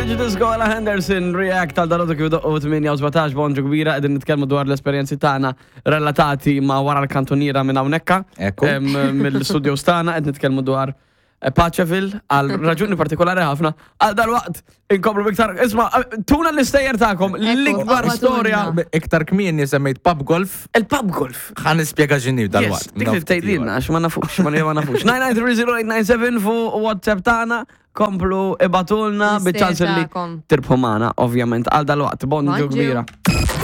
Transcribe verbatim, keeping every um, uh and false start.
Prejudice, Gola Henderson, React għal dalgħodu kif doqqu tmienja u sbatax. Bonġu kbira, qegħdin nitkellmu dwar l-esperjenzi tagħna relatati ma' wara l-kantuniera minn hawnhekk. Ekku. Em, Mill-studio tagħna qed nitkellmu dwar eh, Paceville għal raġuni partikolari ħafna. Għal dal-waqt inkomplu biktar. Isma', tuna l-istejjer tagħkom, l-ikbar Ekku, storja. Iktar kmieni semmejt pub golf, Il-pub golf. Ħa nispjega x'inhi Yes, dal-waqt. dik li tgħidilna, għax ma nafux, ma ma nafux. nine nine three zero eight nine seven fuq WhatsApp tagħna, komplu ibagħtulna L-istejjer biċ-ċans li tagħkom. tirbħu magħna, ovvjament, għal dal-waqt. Bonġu Bonġu. kbira.